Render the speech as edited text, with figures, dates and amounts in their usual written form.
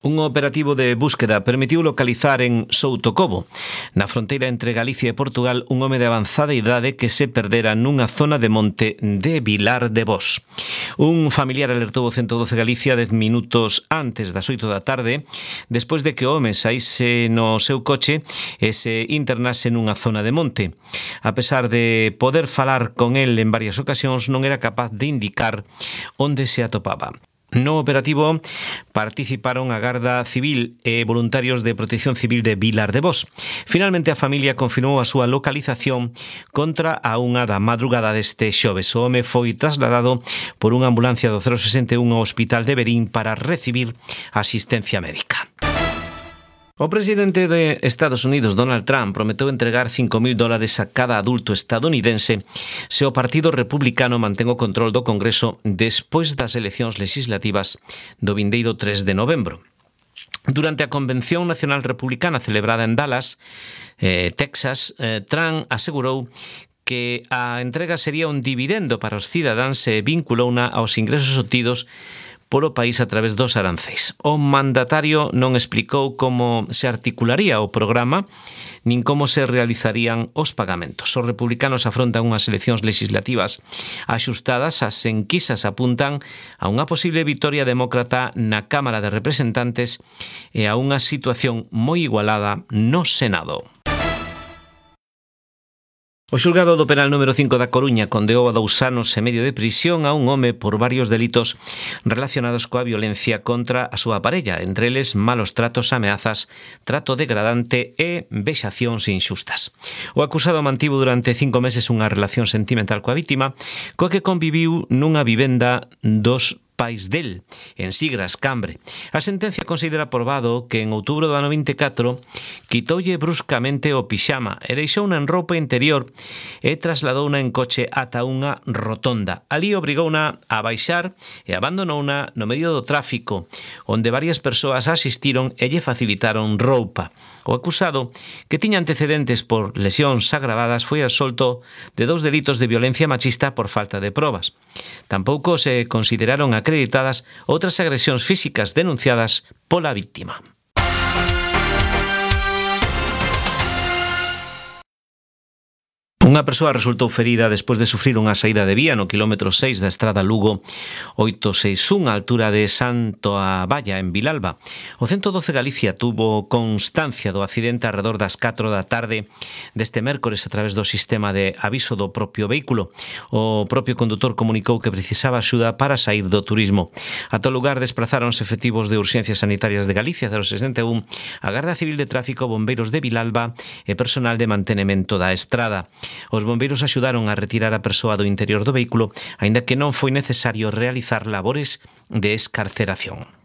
Un operativo de búsqueda permitiu localizar en Soutocobo, na fronteira entre Galicia e Portugal, un home de avanzada idade que se perdera nunha zona de monte de Vilar de Bos. Un familiar alertou o 112 Galicia 10 minutos antes das 8 da tarde, despois de que o home saíse no seu coche e se internase nunha zona de monte. A pesar de poder falar con el en varias ocasións, non era capaz de indicar onde se atopaba. No operativo participaron a Garda Civil e voluntarios de Protección Civil de Vilar de Bos. Finalmente a familia confirmou a súa localización contra a 1 da madrugada deste xoves. O home foi trasladado por unha ambulancia do 061 ao Hospital de Verín para recibir asistencia médica. O presidente de Estados Unidos, Donald Trump, prometeu entregar $5.000 a cada adulto estadounidense se o Partido Republicano mantén o control do Congreso despois das eleccións legislativas do vindeiro 3 de novembro. Durante a Convención Nacional Republicana celebrada en Dallas, Texas, Trump asegurou que a entrega sería un dividendo para os cidadáns e vinculouna aos ingresos obtidos polo país a través dos aranceis. O mandatario non explicou como se articularía o programa nin como se realizarían os pagamentos. Os republicanos afrontan unhas eleccións legislativas axustadas. As enquisas apuntan a unha posible vitoria demócrata na Cámara de Representantes e a unha situación moi igualada no Senado. O xulgado do penal número 5 da Coruña condeou a 2 anos e medio de prisión a un home por varios delitos relacionados coa violencia contra a súa parella, entre eles malos tratos, ameazas, trato degradante e vexacións inxustas. O acusado mantivo durante 5 meses unha relación sentimental coa vítima, coa que conviviu nunha vivenda dos pais del, en Sigras, Cambre. A sentencia considera probado que en outubro do ano 24 quitoulle bruscamente o pixama e deixouna en roupa interior e trasladouna en coche ata unha rotonda. Alí obrigouna a baixar e abandonouna no medio do tráfico, onde varias persoas asistiron e lle facilitaron roupa. O acusado, que tiña antecedentes por lesións agravadas, foi absolto de 2 delitos de violencia machista por falta de probas. Tampouco se consideraron acreditadas outras agresións físicas denunciadas pola vítima. Unha persoa resultou ferida despois de sufrir unha saída de vía no quilómetro 6 da estrada Lugo 861 á altura de Santo Aballa, en Vilalba. O 112 Galicia tuvo constancia do accidente alrededor das 4 da tarde deste mércores a través do sistema de aviso do propio vehículo. O propio condutor comunicou que precisaba axuda para sair do turismo. Ata o lugar desplazáronse efectivos de Urxencias Sanitarias de Galicia 061, a Garda Civil de Tráfico, bombeiros de Vilalba e personal de mantenemento da estrada. Os bombeiros axudaron a retirar a persoa do interior do vehículo, aínda que non foi necesario realizar labores de escarceración.